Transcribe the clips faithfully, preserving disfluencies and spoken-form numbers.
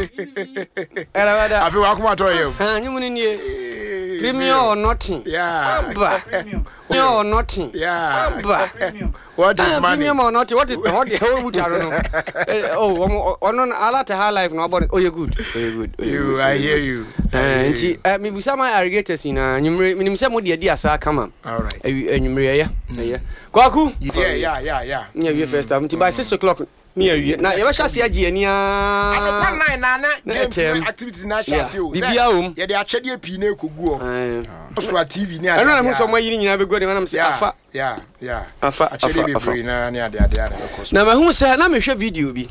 Ɛrɛbɛda. Afei wakoma tɔ yɛ o. Ha nyumu ni nie. Premium or nothing. Yeah. Aba. Premium or nothing. Yeah. Aba. What is Ah, money? Premium or nothing. What is what the hell would I know? Oh, ɔmo ɔno no alata high life na ɔbɔ no. Oh, you good. Oh, you good. Oh, you You, good. I hear you. I Eh, hear nti you. eh, mibusa ma irrigators nyinaa nwumere minim sɛ mode adi asa kama. All right. Awi- Anwummere ɛyɛ ɛyɛ. Kwaku. Yeah, yeah, yeah, yeah. Ne awie first half nti by six o'clock ne awie na yɛbɛhyɛ ase agye ani aa. Anɔpa nine na na Na games ɛkyɛm. ne activities na ahyɛ ase o. Yeah. Biribiara wɔ mu. Yɛde akyɛdeɛ pii na ekogu hɔ. Ɛɛ. So a T V ne ade. Ɛno na mo sɛ ɔmo ayi ne nyinaa bɛgu anim anam sɛ Yeah, afa yeah, yeah. afa Akyɛdeɛ afa afa. bebree na ne ade ade a na ɛbɛkɔ so. Na mahu sɛ na mehwɛ video bi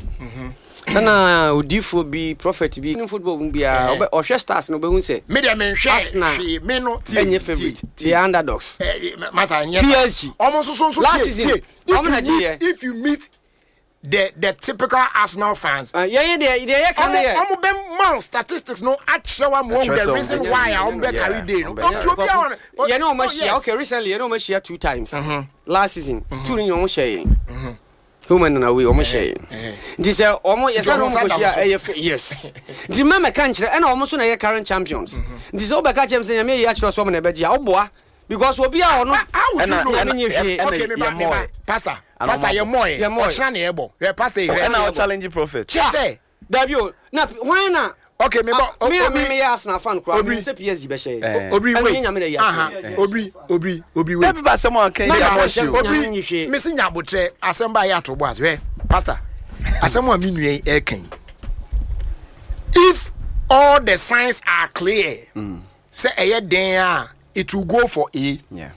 ɛna odiifoɔ bi, prophet bi ne football mu biara Eh. ɔbɛ- ɔhwɛ Stars no ɔbɛhu sɛ Me deɛ menhwɛ Arsenal hwee, me no tie. ɛnyɛ favourite, they are underdogs. Eh, eh, masa nyɛ P S G. ɔmo nso so nso Last tie, season, tie. If ɔmo na you meet gyeeɛ. If you meet the the typical Arsenal fans, Ah, yɛyɛ deɛ deɛ yɛka no ɔmo yɛ ɔmo bɛ ma wo statistics no akyerɛ wa mo Akyerɛ the sɛ reason ɔmo- why a ɔmo bɛ Yeah, carry day no. ɔmo bɛ- Ɔmo obi a ɔno yɛne ɔmo oh, ahyia. Yes. Okay, recently yɛne ɔmo ahyia two times last season, two ne nyina ɔmo hyɛ yɛn home and away, ɔmo hyɛ yɛn. Eh. Nti sɛ ɔmo yɛsɛ ɔmo no ɔmo nsa da kɔhyia mo so. ɛyɛ fɛ, yes, nti mma mɛka nkyerɛ ɛna ɔmo so na ɛyɛ current champions. Nti sɛ wobɛka kyerɛ m sɛ Nyame yi akyerɛ sɛ ɔmo na ɛbɛgye a, woboa because obi a ɔno How would you Ɛna- know? ɛna- nye hwee. ɛna Okay, me ba, me ba, yɛmmɔɛ. pastor, Ana pastor, ɔmo yɛ mɔɛ. Yɛ mɔɛ. Ɔkyena na yɛ bɔ yɛ pastor yɛ. Ɛna ɔ challenge prophet. Kyerɛ sɛ Dabi o, na hwan na okay, me bɔ Ah, me a Obi me meyɛ Arsenal fan koraa Obi. me sɛ P S G bɛhyɛ Eh. yɛn. Obi Ɛno wait yɛ Nyame na yi aha akyerɛ. Obi, Obi, Obi, wait. Ɛbi ba asɛm a ɔka yi Na- deɛ na- abɔ hye o. na- Obi Nyame nyi hwee. Mesi nya abotrɛ asɛm ba yɛ ato bɔ ase. Hwɛ, pastor, asɛm a me nua yi ɛka yi, if all the signs are clear sɛ ɛyɛ den a it will go for A, Yeah.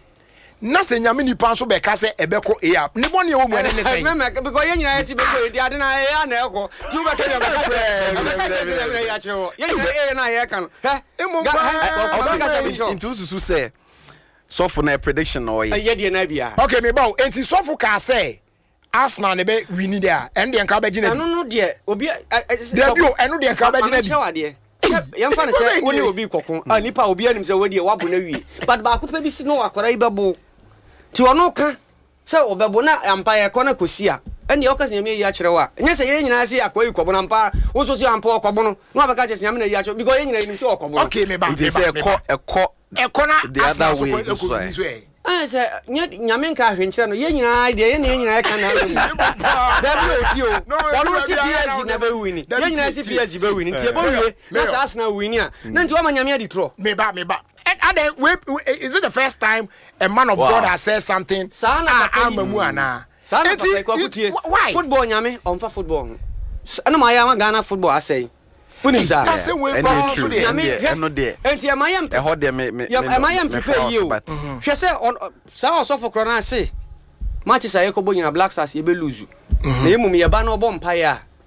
na sɛ Nyame nipa nso bɛka sɛ ɛbɛkɔ A a, ne bɔne ɛwɔ mu ɛne ne sɛn? Mɛmɛ because yɛn nyinaa yɛsi bɛkɔ edi ade na ɛyɛ ana ɛkɔ tí o bɛ kɛ ɔbɛka sɛ ɔbɛka sɛ sɛ Nyame na yi akyerɛ wɔ yɛn nyinaa ɛyɛ na yɛka no hɛ. Emu Ga- paa, hɛ, ɔbɛka sɛ Okay, mekyerɛ nti wosusu sɛ sɔfo na prediction na ɔyɛ? ɛyɛ deɛ na bia. Okay, me ba o, enti sɔfo kaa sɛ Arsenal ne bɛ win de a, ɛno deɛ nka wobɛgye no Ɛno di? no deɛ obi ɛ- ɛ- Dabi o, ɛno deɛ nka wobɛgye no di. Maame kyerɛ adeɛ. Sɛ yɛmfa no sɛ wo ne obi kɔko a, nipa a obi anim sɛ wodeɛ woabo no awie, but baako pɛ bi si no akwara yi bɛbo nti ɔno ka sɛ ɔbɛbo na ampa yɛkɔ no kɔsi a, ɛneɛ ɔka sɛ Nyame ayi akyerɛ wo a, ɛnyɛ sɛ yɛn nyinaa sɛ akwara yi kɔbo no ampa, wo nso sɛ ampa ɔkɔbo no na wabɛka kyerɛ sɛ Nyame na ayi akyerɛ wo, because yɛn nyinaa yɛnim sɛ ɔkɔbo no. Okay, me ba, Nti me sɛ ba, me ɛkɔ ba. ɛkɔ Ɛkɔ na the Arsenal other so way kɔ nso ɛkɔ ɛ. win so ɛ. Ɛn sɛ nyɛ Nyame nka ahwɛ nkyerɛ no, yɛn nyinaa deɛ yɛn ne yɛn nyinaa yɛka na ano mu dabi o ti o. No, ɔno dabi, si dabi, P S G na dabi, bɛ win. dabi, Yɛn nyinaa tie, si tie, P S G bɛ win nti ɛbɛ Mayor, wie na Mayor. sɛ Arsenal win a na nti wama Nyame adi torɔ. Me ba, me ba, and adan wait, wait, is it the first time a man of Wow. God has said something Saa na a papa yi- ama mu anaa? Saa na Enti, papa yi kɔkɔ it- tie. Why? Football, Nyame ɔmfa football ho. S- ɛna ma ayɛ ama Ghana football asɛe, wonim saa. That's the way Ɛno paa yɛ so true. deɛ. Nyame Ɛno deɛ, hwɛ ɛno deɛ. enti ɛma yɛ mpɛ Ɛhɔ deɛ me me yɛ- me ɛma yɛ me mpepɛ fa yie o. so, but Hwɛ sɛ ɔn- ɔ- saa ɔsɔfo korɔ no ase matches a yɛkɔbɔ nyina, Black Stars yɛbɛ lose na yɛ mum yɛba na ɔbɔ mpaeɛ a